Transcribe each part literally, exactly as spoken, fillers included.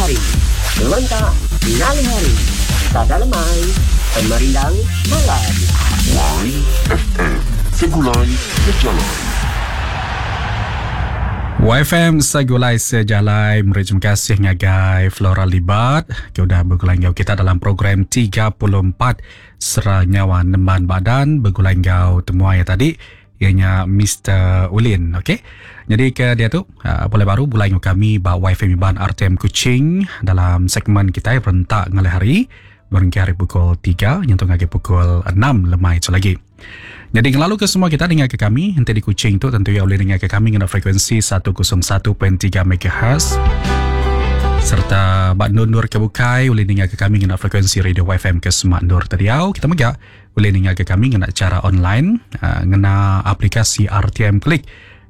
hari. Rentak ngalih hari. Sada lemai. Pemerindang malam. Y F M Segulai Sejalai. Y F M Segulai Sejalai meri terima kasih ngagai Flora Libat ke udah begulai enggau kita dalam program tiga puluh empat Sera Nyawa Nemban Badan begulai enggau temuai tadi ianya Mister Ulin, okey. Jadi ke dia tu uh, boleh baru begulai enggau kami ba Y F M Iban R T M Kuching dalam segmen kita Rentak Ngalih Hari berengkah hari pukul tiga nyentuk ngagai pukul enam lemai tu lagi. Jadi ngelalu ke semua kita dengar ke kami nanti di Kuching tu tentu ya boleh dengar ke kami ngena frekuensi seratus satu perpuluhan tiga M H serta bak nur ke bukai boleh dengar ke kami ngena frekuensi radio Y F M ke Semak Nur Tadiau. Kita mega boleh dengar ke kami ngena cara online uh, ngena aplikasi R T M Klik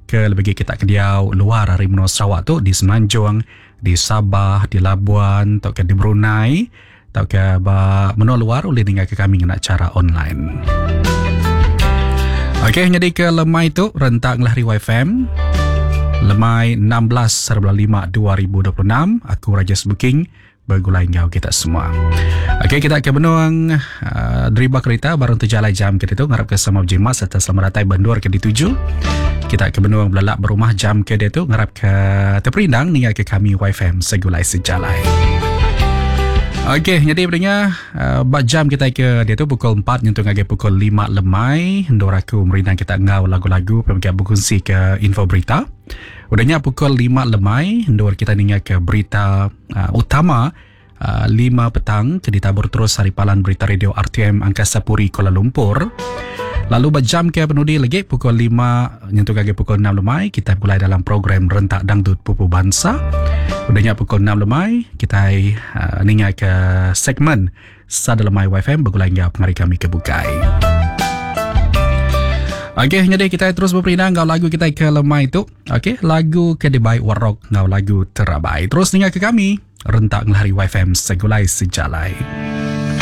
ke lebih kita ke diau luar hari menua Sarawak tu di Semenanjung, di Sabah, di Labuan atau ke di Brunei atau ke ba menua luar boleh dengar ke kami ngena cara online. Okey, jadi ke lemai tu rentak ngelahri Y F M. Lemai enam belas lima dua ribu dua puluh enam, aku Rajes Booking bergulai enggau kita semua. Okey, kita ke benuang uh, deriba kereta barang terjalai jam kita tu ngarap ke sama berjimat serta selamat datang bandur ke dituju. Kita ke benuang belalak berumah jam ke dia tu ngarap ke terperindang ningal ke kami Y F M Segulai Sejalai. Okey, jadi pendengar, uh, bak jam kita ke dia tu pukul empat nyentuh ngagai pukul lima lemai, ndor aku merindang kita ngau lagu-lagu pemegang berkongsi ke info berita. Udahnya pukul lima lemai, ndor kita ningal ke berita uh, utama uh, lima petang ke ditabur terus hari palan berita radio R T M Angkasa Puri Kuala Lumpur. Lalu berjam ke penudi lagi pukul lima nyentuh ngagai pukul enam lemai kita mulai dalam program Rentak Dangdut Pupu Bansa. Udahnya pukul enam lemai kita uh, ninga ke segmen Sada Lemai Y F M bergulai enggau pengari kami ke Bukai. Okey, jadi kita terus berperindang ngau lagu kita ke lemai tu. Okey, lagu ke Debai Warok ngau lagu Terabai. Terus ninga ke kami Rentak Ngelahari Y F M Segulai Sejalai.